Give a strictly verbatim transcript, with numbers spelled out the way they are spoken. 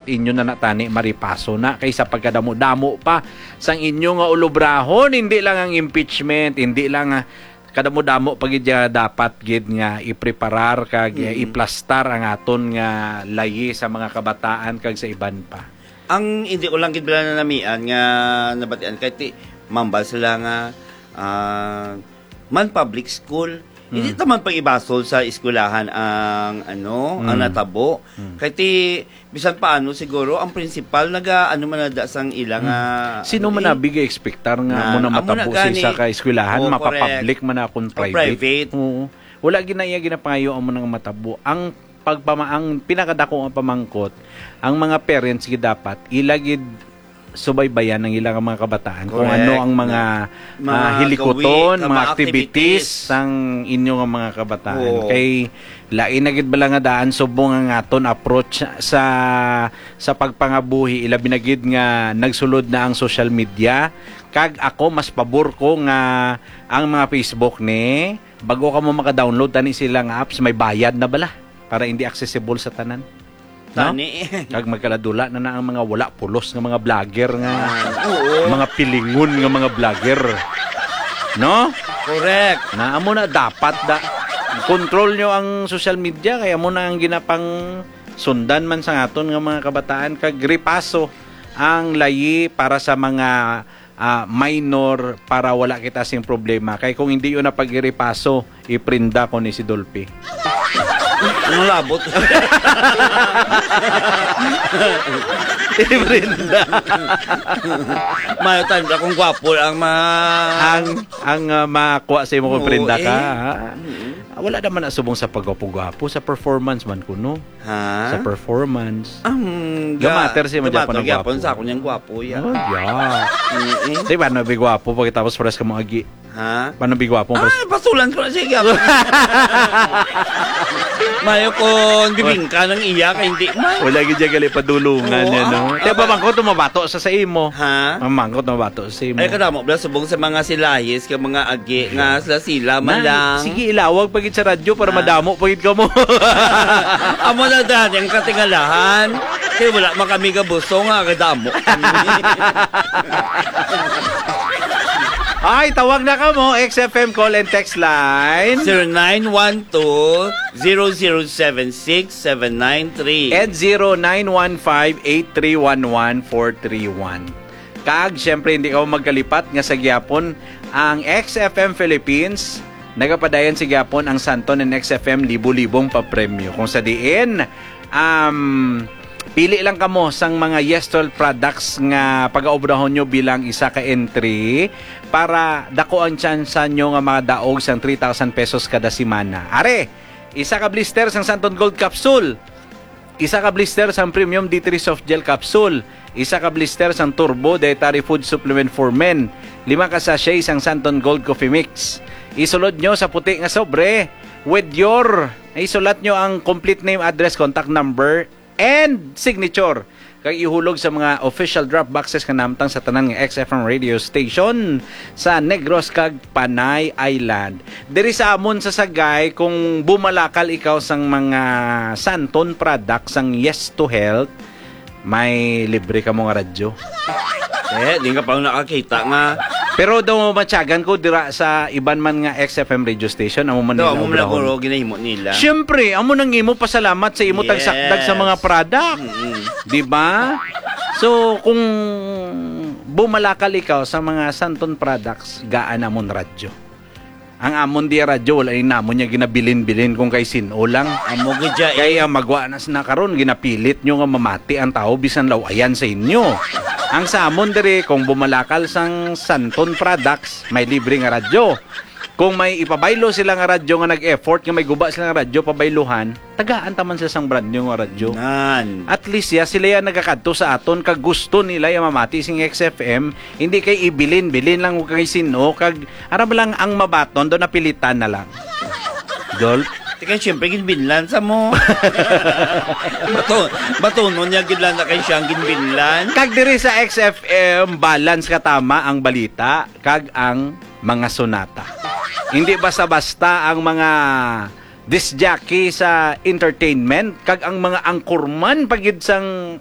inyo na natani maripaso na kaysa pagkadamo-damo pa sang inyo nga ulobrahon. Hindi lang ang impeachment, hindi lang, ah, kadamo-damo pa gid nga dapat gid nga ipreparar kag, eh, Mm. iplastar ang aton nga layi sa mga kabataan kag sa iban pa. Ang hindi ko lang gid bala nanamian nga nabatian kay ti mambal sila nga, ah, man public school. Hindi Mm. naman pag-ibasol sa eskwelahan ang, ano, ang Mm. natabo. Mm. Kay ti, bisan paano siguro, ang principal naga, ano man na da sang ila nga, Mm. Sino ano man eh? Nabi ga-expectar nga Na, amo na amo na matabo sa isa gani. Ka eskwelahan, Oh, correct. Mapapublic man na akong O private? Private. Oo. Wala gid na iya ginapangayo amo nang matabo. Ang pagpama-, ang pinakadako nga pamangkot, ang mga parents gid dapat ila gid subaybayan ang ilang mga kabataan kung Correct. Ano ang mga, Mga ah, hilikoton, gawi, mga mga activities activities. Sang inyo nga mga kabataan. Oo. Kay lain na gid bala nga daan subong ang aton approach sa, sa pagpangabuhi, ilabi na gid nga nagsulod na ang social media. Kag ako, mas pabor ko nga ang mga Facebook ni, bago ka mo maka-download tani sila nga apps, may bayad na bala para hindi accessible sa tanan. No? Tani. Kag magkaladula na na ang mga wala pulos nga mga vlogger nga, Ah, oo. Mga pilingon nga mga vlogger. No? Correct. Na amo na dapat da control nyo ang social media kay amo na ang ginapang sundan man sa aton nga mga kabataan kag ripaso ang layi para sa mga, ah, minor para wala kita sing problema. Kay kung hindi yun na pag-iripaso, iprinda ko ni si Dolphy. Ang labot. Iprinda. Mayo tanda kung gwapo ang ma- Ang, ang, ah, makuha sa imo kung Oo, prinda ka, eh. Ha? Mm. Ah, wala naman na subong sa pagwapo-gwapo, sa performance man kuno. Ha? Sa performance. Ang Gamatter ga-, siya, gamatter madyapan ang gyapon gwapo. Sa akon yang gwapo, ya. Oh, yeah. Mm-mm. Di ba, no, bigwapo, pagkatapos pares ka mo agi. Ha? Paano bigwapo? Pares- Ay, pasulan ko na siya, gyapon. Mayo kon bibingka ng iya, kay hindi man. Wala gid siya gali padulungan Oo, niya, no? Ah, kaya ah, pamangkot, mabato sa sa imo. Ha? Pamangkot, mabato sa imo. Ay, kadamo, bla, subong sa mga silahis, kag mga agi, nga sila-sila man lang. Sige, ilawag pa gid sa radyo para Ah. Madamo pa gid kamo. Amo na dali ang katingalahan. Kay wala man kami gabuso nga kadamo kami. Ay, tawag na kamo, X F M call and text line. Zero nine one two, zero zero seven six, seven nine three. And zero nine one five, eight three one one, four three one. Kag, siyempre, hindi ka magkalipat nga sa gihapon ang X F M Philippines, nagapadayon sa gihapon ang Santon and X F M libo-libong papremyo. Kung sa diin, um, pili lang kamo sang mga Yes Twelve products nga pagaobrahon nyo bilang isa ka entry para dako ang tsansa nyo nga madaog sang three thousand pesos kada semana. Are, isa ka blister sang Santon Gold Capsule. Isa ka blister sang Premium D three Soft Gel Capsule. Isa ka blister sang Turbo Dietary Food Supplement for Men. Lima ka sachet sang Santon Gold Coffee Mix. Isulod nyo sa puti nga sobre with your, isulat nyo ang complete name, address, contact number, and signature. Kag ihulog sa mga official drop boxes nga nahamtang sa tanan nga X F M radio station sa Negros kag Panay Island. Diri sa amon sa Sagay, kung bumalakal ikaw sang mga Santon products sang Yes to Health, may libre kamo nga radyo. Eh, di ka pa nakakita nga. Pero daw matyagan ko dira sa iban man nga X F M radio station, amo man Daw, nila amo man obrahon. Guro, ginahimo nila. Siyempre, amo nang imo pasalamat sa imo Yes. Tagsakdag sa mga product. Mm-mm. Di ba? So, kung bumalakal ikaw sa mga Santon products, gaan amon radyo. Ang amon diya radyo, wala ni namon niya ginabilin-bilin kung kay sin-o lang. Amo gid siya, eh. Kaya magwa na sina karon, ginapilit nyo nga mamati ang tao bisan law-ayan sa inyo. Ang sa amon diri, kung bumalakal sang Santon Products, may libre nga radyo. Kung may ipabaylo sila nga radyo nga nag-effort, nga may guba sila nga radyo, pabayluhan, tagaan ta man sila sang brand new nga radyo. Nan. At least, ya, sila ya nagakadto sa aton, kag gusto nila ya mamati sing X F M, hindi kay ibilin-bilin lang kay sin-o, kag aram lang ang mabaton, do napilitan na lang. Dol? Di kay siyempre, ginbinlan sa mo. Bato-, batonon niya, gid lang na kay siyang ginbinlan. Kag diri sa X F M, balance ka tama ang balita, kag ang mga sonata. Hindi basta-basta ang mga disc jockey sa entertainment, kag ang mga anchorman pa gid sang